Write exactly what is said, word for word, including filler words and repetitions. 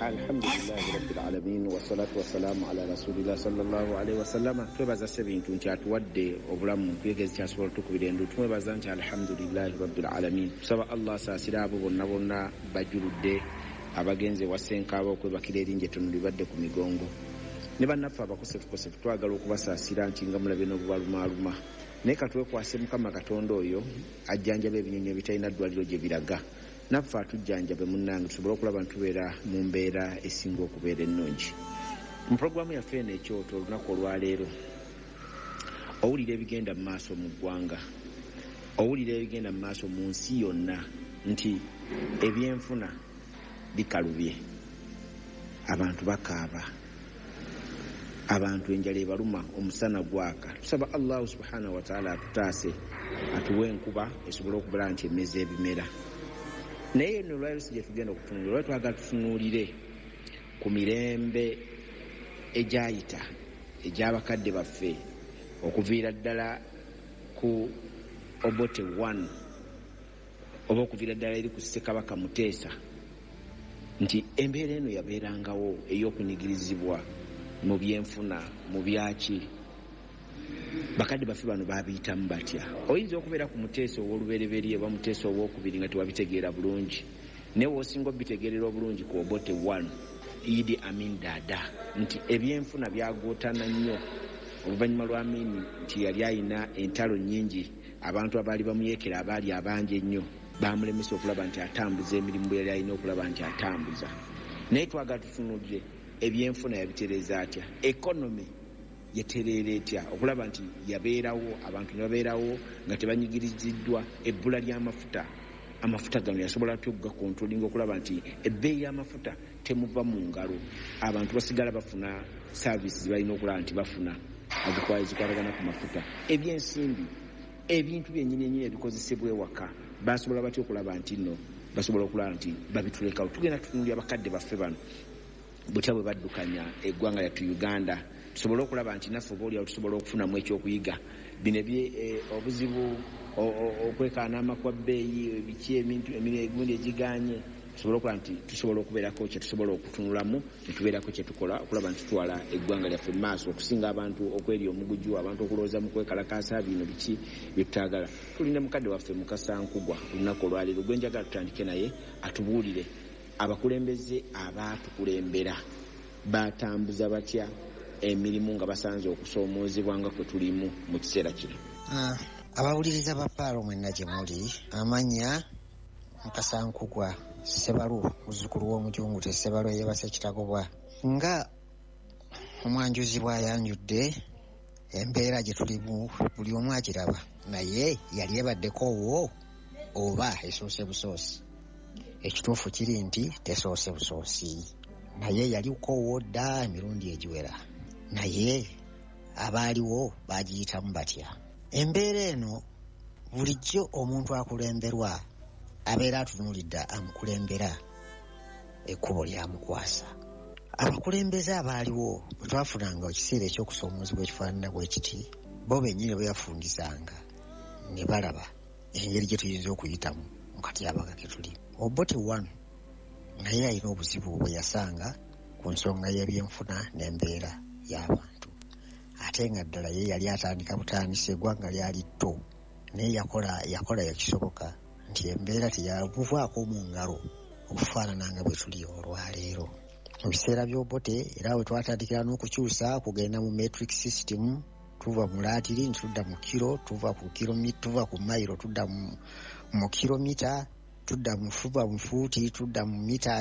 Alhamdulillahi rabbil alamin, wassalatu wassalamu ala rasulillah sallallahu alaihi wasallama. Twebaza Ssebintu nti atuwadde obulamu twegezi kyasobola otukubira endu. Tumwebaza nti alhamdulillahi rabbil alamin. Tusaba Allah asaasire abo bonna bonna bajuludde abagenze wa Ssenkaaba okwebakira erinnya ettono libadde ku migongo, ne bannaffe abakosefukosefu twagala okubasaasira nti nga mulabye n'obubalumaaluma. Naye katwekwase Mukama Katonda oyo ajjanjaba ebinyonyi ebitalina ddwaliro gye biraga, naffe atujjanjabe munnange tusobole okulaba nti tubeera mu mbeera esinga okubeera ennungi. Mu pulogulaamu yaffe eno Ekyoto olunaku olwaleero, owulira ebigenda mu maaso mu ggwanga, owulira ebigenda mu maaso mu nsi yonna nti ebyenfuna bikalubye, abantu bakaaba, abantu enjala ebaluma, omusana gwaka. Tusaba Allahu subhanahu wataala atutaase, atuwe enkuba esobole okubala nti emeza ebimera. Naye eno olwaliro si gye tugenda okutunuulira. Olwali twagala tutunuulire ku mirembe egyayita egy'abakadde baffe, okuviira ddala ku Obote one oba okuviira ddala eri ku Ssekabaka Muteesa, nti embeera eno yabeerangawo ey'okunyigirizibwa mu byenfuna, mu byaki. Bakadde baffe bano babiyitamu batya? Oyinza okubeera ku Muteesa ow'olubereberye oba Muteesa owokubiri nga tewabitegeera bulungi, naye woosinga obitegeerera obulungi ku Obote one, Idi Amin Dada, nti ebyenfuna byagootana nnyo oluvannyuma lwa Amin nti yali ayina entalo nnyingi, abantu abaali bamuyeekera abaali abangi ennyo bamulemesa okulaba nti atambuza emirimu bwe yali alina okulaba nti atambuza. Naye twagala tutunuulire ebyenfuna yabitereeza atya, economy yatereera etya okulaba nti yabeerawo, abantu ne babeerawo nga tebanyigiriziddwa. Ebbula ly'amafuta, amafuta gano yasobola atya okugakontrolinga okulaba nti ebbeeyi y'amafuta temuva mu ngalo, abantu basigala bafuna services balina okulaba nti bafuna ezikwatagana ku mafuta? Ebyensimbi, ebintu byennyini ennyini ebikozesebwa ewaka, basobola batya okulaba nti nno basobola okulaba nti babitulekawo? Tugenda tutunuulira bakadde baffe bano butya bwe baddukanya eggwanga lyattu Uganda, tusobole okulaba nti naffe oba oliawo tusobola okufunamu ekyokuyiga. Bino obuzibu okwekaana kwa bbeeyi, biki, ebintu emigundi egiganye, tusobole okulaba nti tusobola okubeerako kye tusobola okutunulamu ne tubeerako kye tukola okulaba nti tutwala eggwanga lyaffe mu maaso, okusinga abantu okwerya omuguju, abantu okulowooza mu kwekalakaasa bino biki byetutaagala. Tulina mukadde waffe Mukasa Nkugwa olunaku olwaleero gwe njagala tutandike naye atubuulire abakulembeze abaatukulembera batambuza batya emirimu nga basanze okusoomoozebwa nga kwe tulimu mu kiseera kino. Ah, abawuliriza ba Paalo mwenna gye muli, amannya Mukasa Nkugwa Ssebalu, muzzukulu w'omujungute Ssebalu eyebase Kitagobwa. Nga omwanjuzi bw'ayanjudde, embeera gye tulimu buli omu agiraba, naye yali ebaddeko wo oba esoose busoosi? Ekituufu kiri nti tesoose busoosi, naye yaliko wo dda emirundi egiwera. Naye abaaliwo bagiyitamu batya embeera eno? Bulijjo omuntu akulemberwa abeera atunuulidde amukulembera ekkubo lyamukwasa. Abakulembeze abaaliwo bwe twafunanga ekiseera eky'okusoomoozebwa ekifaanana bwe kiti, bo bennyini bwe yafundisanga ne balaba engeri gye tuyinza okuyitamu mu katyabaga ke tuli. Obote one naye alina obuzibu bwe yasanga ku nsonga y'ebyenfuna n'embeera y'abantu, ate nga ddala ye yali atandika butandisi, eggwanga lyali tto, naye yakola yakola ekisoboka nti embeera teyamuvaako mu ngalo okufaanana nga bwe tuli olwaleero. Mu biseera by'Obote era we twatandikira n'okukyusa kugenda mu metric system, tuva mu laatiri nti tudda mu kiro, tuva ku kiro, tuva ku mayiro tudda mu, mu kilomita, tudda mu, tuva mu fuuti tudda mu meters.